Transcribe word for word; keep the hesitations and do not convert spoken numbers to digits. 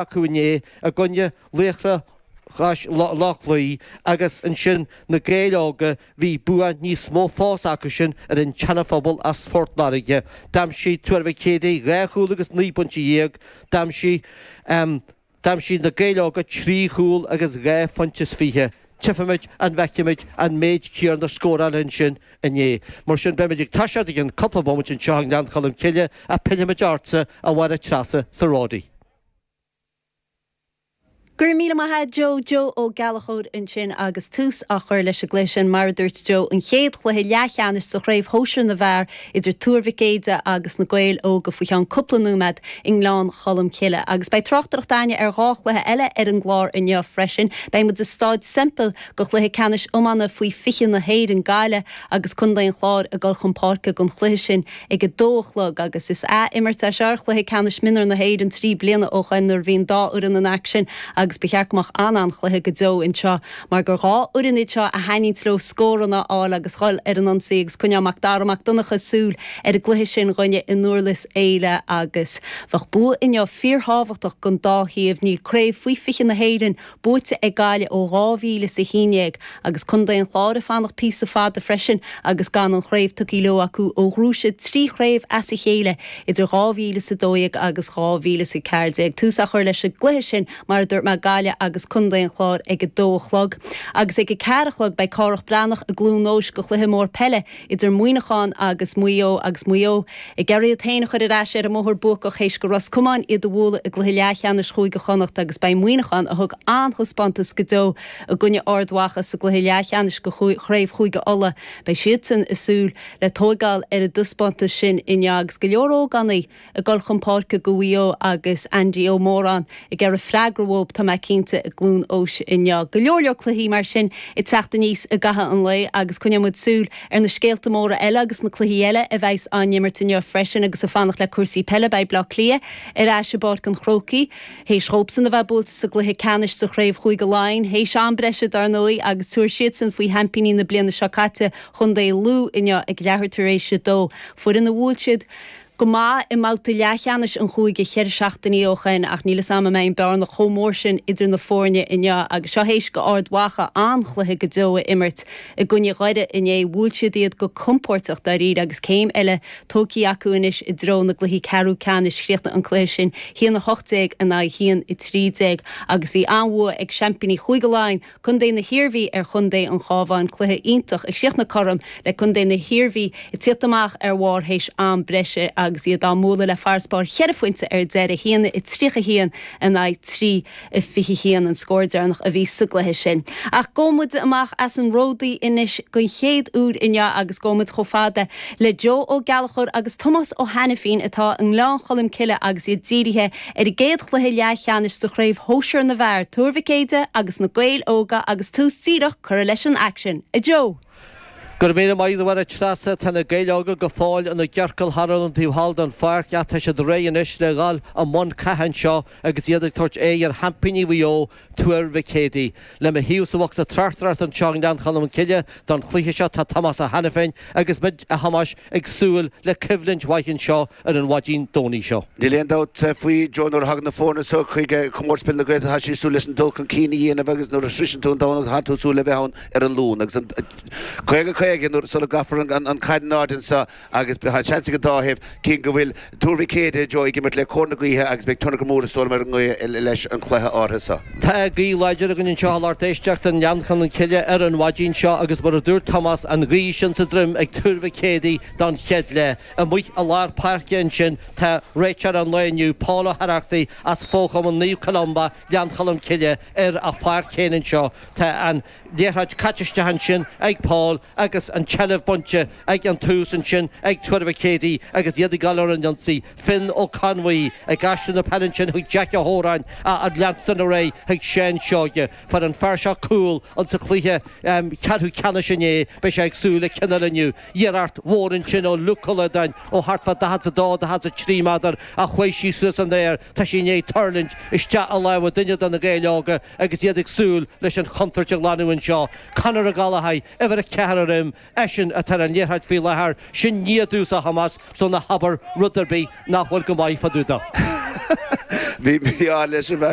acu inné i gcoinne Laochra Loch Lao agus ansin na Gaeil Óga, bhí bua níos mó fós acu sin ar an tSeanaphobal as Phort Láirge. D'aimsigh Tuar Mhic Éadaigh dhá chúl agus naoi bpointe dhéag, d'aimsigh d'aimsigh na Gaeil Óga trí chúl agus dhá phointe is fiche. Tchífimid an bhfeicfimid an méid céanna scórála ansin inné. Mar sin beimid ag toiseacht i gcionn cúpla bomaite anseo i nGleann Cholm Cille ach pillfimid ortsa a Mháire Treasa sa Ródaí. Go raibh míle maith agat Joe Joe Ó Gallchóir ansin agus tús á chur leis an gcluiche sin mar a dúirt Joe an chéad chluiche leathcheannais sa chraobh shóisir na bhfear idir Tuar Mhic Éadaigh agus na Gaeil Óga faoi cheann cúpla nóiméad i nGleann Cholm Cille. Agus beidh tráchtaireacht againne ar dhá chluiche eile ar an gclár inniu freisin. Beidh muid i Staid Semple go chluiche ceannais iomána faoi fiche na hÉireann Gaillimh agus Contae an Chláir ag dul chun páirce don chluiche sin ag a dó a chlog agus is ath-imirt é seo ar chluiche ceannais mionúr na hÉireann trí bliana ó shin nuair a bhí an dá fhoireann in aicsean agus ba cheart go mbeadh an-an-chluiche go deo anseo mar gur dhá fhoireann iad seo a thaitníonn leo scóranna a fháil agus dhul ar an ionsaí agus coinneoidh Mac Dara Mac Donncha súil ar an gcluiche sin dhúinne i nDurlas Éile agus bheadh bua inniu fíorthábhachtach don dá thaobh níl craobh faoi fiche na hÉireann buaite ag Gaillimh ó dhá mhíle is a haon déag agus Contae an Chláir ag fanacht píosa fada freisin agus gan an chraobh tugtha leo acu ó ghnóthaigh siad trí chraobh as a chéile idir dhá mhíle is a dó dhéag agus dhá mhíle is a ceathair déag. Tús á chur leis an gcluiche sin mar a dúirt mé Gaillimh agus Contae an Chláir ag a dó a chlog. Agus ag a ceathair a chlog beidh Cárthach Breathnach i gCluain Eois go chluiche mór peile idir Muineachán agus Maigh Eo agus Maigh Eo ag iarraidh iad féin a chur ar ais ar an mbóthar buacach théis go Ros Comáin iad a bhualadh i gcluiche leathcheannais Chúige Chonnacht agus beidh Muineachán a thug an-taispeántas go deo i gcoinne Ard Mhacha sa gcluiche leathcheannais go Chraobh Chúige Uladh. Beidh siadsan ag súil le tógáil ar an dtaispeántas sin inniu agus go leor ógánaigh ag dul chun páirce go Mhaigh Eo agus Andy Ó Móráin ag iarraidh freagra uathu tá mé cinnte i gCluain Eois inniu. Go leor leor cluichí mar sin ag teacht aníos i gcaitheamh an lae agus coinneoidh muid súil ar na scéalta móra eile agus na cluichí eile a bheas á n-imirt inniu freisin agus ag fanacht le cúrsaí peile beidh Bleá Cliath ar ais i bPáirc an Chrócaigh. Théis dóibhsan a bheith buailte sa gcluiche ceannais sa chraobh Chúige Laighean, théis am breise dar ndóigh agus tabharfaidh siadsan faoi sheaimpíní na bliana seo caite Chontae Lú inniu ag leathuair tar éis a dó. Foireann a bhuail siad go maith i mbabhta leathcheannais an chúige ceithre seachtainí ó shin ach níl a fhios agam an mbeidh an bearna chomh mór sin idir na foirne inniu agus seo théis go Ard Mhacha an-chluiche go deo a imirt i gcoinne Dhoire inné bhuail siad iad go compordach dáiríre agus céim eile tógtha acu anois i dtreo na gcluichí ceathrú ceannais chríochnaigh an cluiche sin haon a hocht déag in aghaidh haon a trí déag agus bhí an-bhua ag seaimpíní Chúige Laighean Contae na hIarmhí ar Chontae an Chabháin cluiche iontach a chríochnaigh cothrom le Contae na hIarmhí ag tíocht amach ar bharr théis am breise agus iad á mbualadh le farasbarr cheithre phointe ar deireadh haon a tríocha haon in aghaidh trí a fiche haon an scór deireanach a bhí sa gcluiche sin. Ach gabhfaidh muid amach as an Ródaí anois den chéad uair inniu agus gabhfaidh muid chomh fada le Joe Ó Gallchóir agus Tomás Ó hAiniféin atá i nGleann Cholm Cille agus iad dírithe ar an gcéad chluiche leathcheannais de chraobh shóisir na bhfear, Tuar Mhic Éadaigh agus na Gaeil Óga agus tús díreach curtha leis an aicsean. A Joe! Go raibh míle maith agat a Mháire Treasa, tá na Gaeil Óga go fóill ina gciorcal thar an taobh thall den pháirc ach tá siad réidh anois le dhul i mbun catha anseo agus iad ag tabhairt aghaidh ar sheaimpíní Mhaigh Eo, Tuar Mhic Éadaigh. Le mo thaobh sa bhocsa tráchtaireachta anseo i nGleann Cholm Cille don chluiche seo tá Tomás Ó hAiniféin agus muid, a Thomáis, ag súil le coimhlint mhaith anseo ar an mhaidin Domhnaigh seo. Níl aon dabht faoi, Joe, nuair a thagann na foirne seo chuig Comórtas Peile na Gaeltachta tá siad ag súil leis an dul chun cinn a dhéanamh agus nuair a shroiseann tú an Domhnach tá tú ag súil le bheith ann ar an Luan agus an caoga caoga nuair sula gcaithfear an chaid in airde anseo agus tá seans ag an dá thaobh cé go bhfuil Tuar Mhic Éadaigh, Joe, ag imirt le cóir na gaoithe agus beidh tionchar mór is dóigh liom ar an ngaoth leis an chluiche áirithe seo. Tá gaoth láidir againn anseo a lucht éisteachta i nGleann Cholm Cille ar an mhaidin seo agus mar a dúirt Tomás, an ghaoth sin sa droim ag Tuar Mhic Éadaigh don chéad leath. Amuigh i lár páirce ansin tá réiteoir an lae inniu, Paul Ó hOireachtaigh as Fo-Chumann Naomh Columba, Gleann Cholm Cille, ar a pháirc féin anseo. Tá an liathróid caite isteach ansin ag Paul agus an tseilbh bainte ag an tús ansin ag Tuar Mhic Éadaigh agus iad ag dul ar an ionsaí. Finn Ó Conbhuí ag aistriú na peile ansin chuig Jack Ó hÓráin ag leanstan ar aghaidh chuig Seán Seoige. Fuair an fear seo cúl insa chluiche ceathrú ceannais inné. Beidh sé ag súil le ceann eile inniu. Iarracht mhór ansin ó Luke Ó Loideáin ó thart fá daichead is a dó, daichead is a trí méadar ach chuaigh sí suas san aer. Tá sí i ndiaidh tuirlingt isteach i lámha duine de na Gaeil Óga agus iad ag súil leis an chontúirt a ghlanadh anseo. Conor Ó Gallchóir, uimhir a ceathair ar im, eisean atá ar an liathróid faoi láthair. Sin nia domhsa, a Thomáis, so ná habair rud ar bith nach bhfuil go maith fá dtaobh dó. Bhí mí-ádh leis an bhfear.